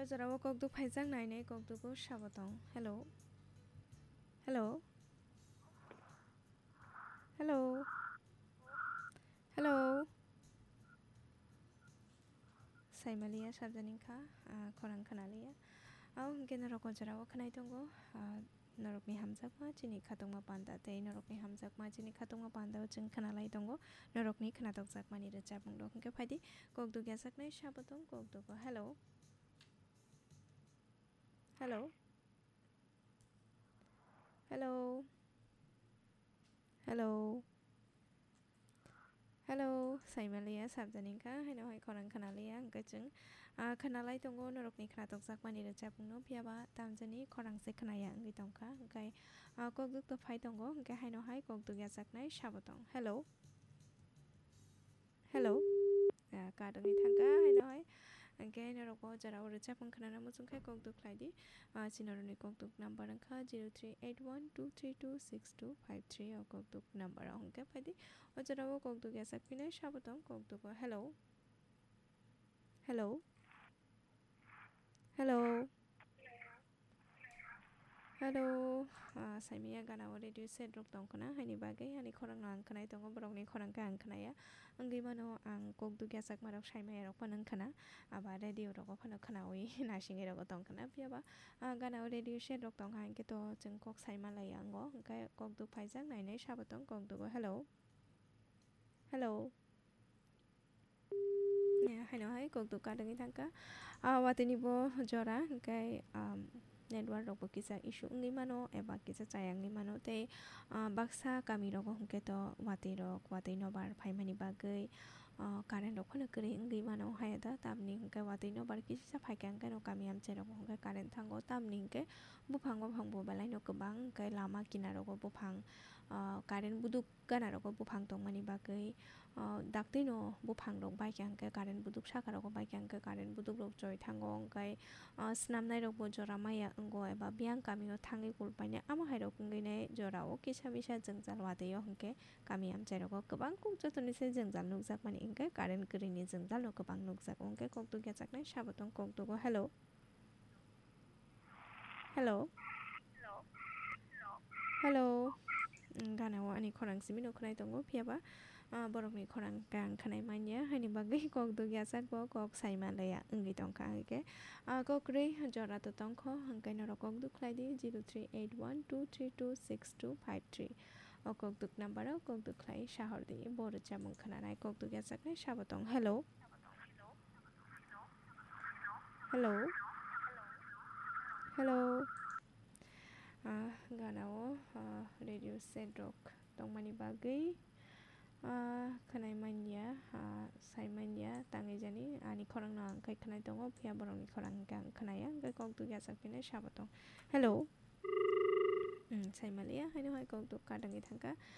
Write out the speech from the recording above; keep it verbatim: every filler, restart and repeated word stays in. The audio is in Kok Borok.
O jorao kokduk phaijak nainai kokdugo sabo tong. Hello. Hello. Hello. Hello. Saimaliya sabjani kha, ah, khorang khnaliya. Abo hwnkhe norok o jorao khnai tongo, ah, norokni hamjakma chini khatungma panda tei norokni hamjakma chini khatungma panda o chwng khnalai tongo. Norokni khnatokjakmani rwchapmung rok hwnkhe phaidi kokduk yajaknai sabo tong kokdugo. Hello. Hello. Hello. Hello. Hello, saimaliya sabjani kha, haino hai khorang khnaliya, hwnkhe chwng, ah, khnalai tongo norokni khnatokjakmani rwchapmungno, phiyaba tamjani khorang se khnaya wngwi tongkha, hwnkhe, ah, kokduk to phai tongo, hwnkhe haino hai kokduk yajaknai sabo tong. Hello. Hello. Ah, kat wngwi thangkha, haino hai. Hwnkhe norok o jorao rwchapmung khnana muchung khe kokduk khlai di. Ah, chini norokni kokduk number wngkha zero three eight one two three two six two five three, o kokduk number o hwnkhe phaidi. O jorao kokduk yachak phinai sabo tong kokduk o. Hello. Hello. Hello. Hello, ah, saimaya gana o radio set rok tong khna, haini bagwi ani khorang no ang khnai tongo, borok ni khorang khe ang khnaya. Wngwi mano ang kokduk yachakma rok saimaya rok phano wng khna, aba radio rogo phano khnawi naisingwi rogo tong khna, phiyaba, ah, gana o radio set rok tong kha, hinkhe to chwng kok saima laiya wngo, hwnkhe kokduk phaijak nainai sabo tong kokduk o. Hello. Hello. Ya, haino hai kokduk kadangwi thangkha. Ah, watwi ni bo jora, hwnkhe, um, network rok bo kisa issue wngwi mano, eba kisa chaya wngwi mano. Tei, ah, baksa kami rogo hwnkhe to watwi rok, watwi nobar phaimani bagwi, ah, current rok phano kwrwi wngwi mano. Haya da tamni hwnkhe watwi nobar kisa phaikha hwnkhe no kami amchai rogo hwnkhe current thango. Tamni hwnkhe buphang, buphang bo belai no kwbang, hwnkhe lama kinaro bo buphang, ah, current buduk gana rogo buphang tongmani bagwi, ah, daktino buphang rok baikha hwnkhe current buduk saka rogo baikha hwnkhe current buduk rok choi thango hwnkhe, ah, swnamnai rok bo jora maya wngo eba biyang kami o thangwi kulpainai amo hai rok wngwi nai jora o kisa misa jwngjal watwi o hwnkhe kami amchai rogo kwbang kuk joto ni se jwngjal nukjak mani hwnkhe current kwrwi ni jwngjal no kwbang nukjak hwnkhe kokduk yachaknai sabo tong kokduk o. Hello. Hello. Hello. Mm, gana o ani khorang simi no khwnai tongo, phiyaba, ah, borokni khorang khe ang khwnai manya, haini bagwi kok duk yachak bo kok sai manlaiya wngwi tongkha, hwnkhe, ah, kok kwrwi jora to tongkho, hwnkhe norok kok duk khlai di, zero three eight one two three two six two five three. O kok duk number o kok duk khlai sahor di, bo rwchapmung khwnanai kok duk yachaknai sabo tong. Hello. Hello. Hello. Ah, gana o, ah, radio set rok tongmani bagwi, ah, khwnai manya, ah, sai manya, tangwi jani ani khorang no ang khai khwnai tongo, phiya borok ni khorang hwnkhe ang khwnaya, hwnkhe kok duk yachak phinai sabo tong. Hello. Hmm, sai maliya, haino hai kok duk kadangwi thangkha.